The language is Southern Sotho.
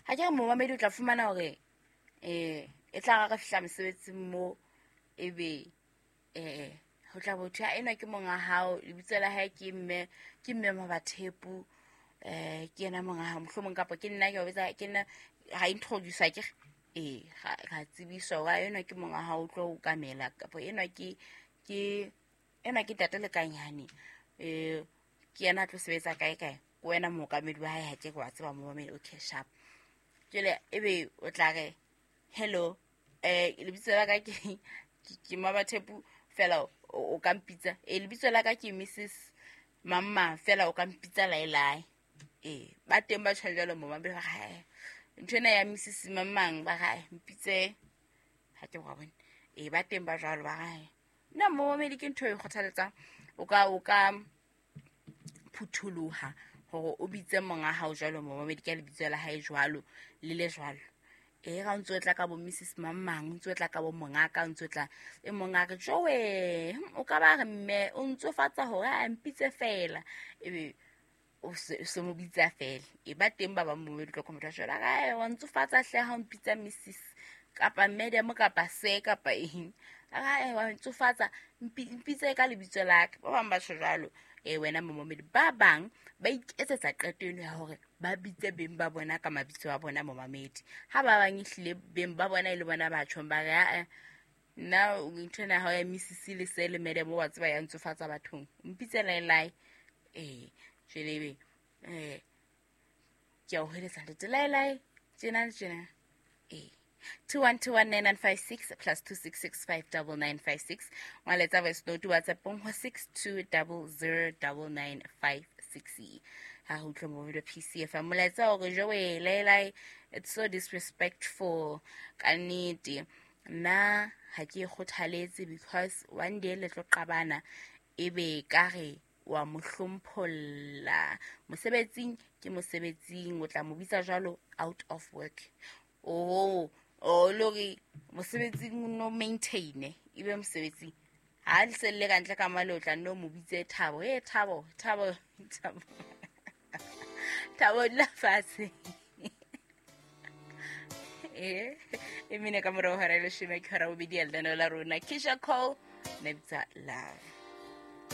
Ga ke re momamedi o tla fumana gore um e tla ga re fihla mosebetsing mo ebe um go tla botho a enwa ke monga gago, lebitso la gae ke mme, ke mme Mabathepu, ke yena monga gago mohlomong, kapa ke nna ke bitsa, ke nna ga introduce ke ee ga tsebiswa wa enwa ke monga gago o tlo o kamela, kapa enwa ke enwa ke tate Lekanyane, ke yena a tlo sebetsa kae kae, ke wena mookamedi wa hae, ha ke wa tseba momamedi. Okay, sharp. Jwale ebe o tla re hello, lebitso la ka ke Mabathepu fela, o ka mpitsa lebitso la ka ke Mrs Mamma fela, o ka mpitsa laelae. Ee, ba teng ba tjhang jwalo momamedi ba gae ntho ena ya Mrs Mamang ba gae mpitse ha ke wa bone. Ee, ba teng ba jwalo ba gae. Nna momamedi ke ntho e kgothaletsang, o ka phutholoha hore o bitse monga hao jwalo momamedi ka lebitso la hae jwalo le le jwalo. Ee, ga o ntse o tla ka bo Mrs Mamang, o ntse o tla ka bo mongaka, o ntse o tla e mong a re joe, o ka ba re mme o ntsofatsa hore a mpitse fela, ebe o se mo bitsa fela. E ba teng ba bang momedi tlo komotho jwalo a wa ntsofatsa hle ha o mpitsa Mrs kapa madam kapa se kapa eng, a wa ntsofatsa, mpitse ka lebitso la ka. Ba bang ba tjho jwalo. Ee, wena momamedi, ba bang ba iketsetsa qeto eno ya hore ba bitse beng ba bona ka mabitso a bona momamedi, ha ba bang ehlile beng ba bona e le bona batjhong ba re aa nna ntho ena ya hao ya Mrs le se le madam wa tseba ya ntsofatsa bathong, mpitse laelae. Ee, jwale ebe ke a o heletsa ntate laelae tjena le tjena. Ee, 21219956 plus 26659956, ngwaletsa voice note WhatsAppong ho 62009956. Ha re utlwe mo video PCF molaetsa hore jowe laelae, it's so disrespectful ka nnete, nna ha ke e kgothaletse because one day le tlo qabana, ebe ka re wa mo hlompholla mosebetsing, ke mosebetsing o tla mo bitsa jwalo out of work. Oh, le hore mosebetsing no maintain ebe mosebetsing ha le se le ka ntle ka male, o tla nne o mo bitse Thabo, e Thabo, Thabo, Thabo, Thabo, dula fatshe. Ee, e mene ka morao hora ya 10, ke hora bobedi ya lenaneo la rona. Kisha Cole ne bitsa Love.